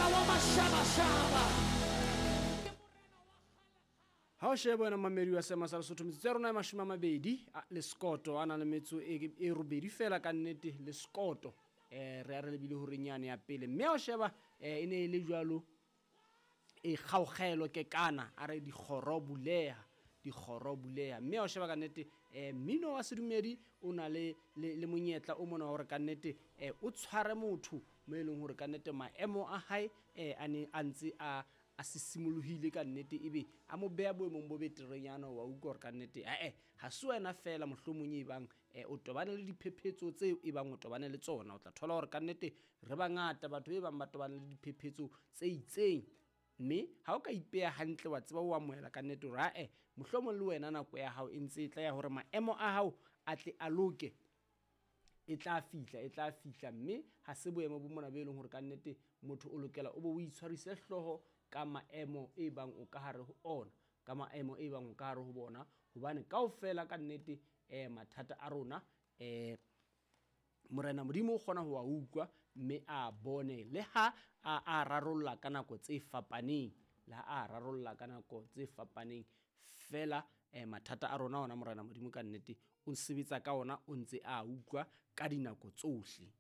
Morena wa mashabashaba. Ha o shebe wena mamedi wa seema sa Lesotho, metsotso ya rona e 20 le sekoto a na le metso e robedi fela ka nnete le sekoto. Re a re lebile horeng yane ya pele, mme ha o sheba e ne e le jwalo e kgaogelo ke kana a re dikgoro buleha, dikgoro buleha. Mme ha o sheba ka nnete mmino wa sedumedi o na le monyetla o mona wa hore ka nnete o tshware motho mo e leng hore ka nnete maemo a hae a ne a ntse a sisimolohile ka nnete, ebe a mo beha boemong bo beterenyana. Wa utlwa hore ka nnete ae ha se wena fela mohlomong e bang o tobane le diphephetso tseo e bang o tobane le tsona. O tla thola hore ka nnete re bangata batho e bang ba tobane le diphephetso tse itseng, mme ha o ka ipeha hantle wa tseba o amohela ka nnete hore ae mohlomong le wena nako ya hao e ntse e tla ya hore maemo a hao a tle a loke, e tla fihla, e tla fihla. Mme ha se boemo bo mona bo e leng hore ka nnete motho o lokela o bo o itshwarise hlooho ka maemo e bang o ka hare ho ona, ka maemo e bang o ka hare ho bona, hobane kaofela ka nnete mathata a rona Morena Modimo o kgona ho a utlwa mme a bone le ha a rarolla ka nako tse fapaneng, le ha a rarolla ka nako tse fapaneng fela mathata a rona ona Morena Modimo ka nnete o sebetsa ka ona, o ntse a utlwa ka dinako tsohle.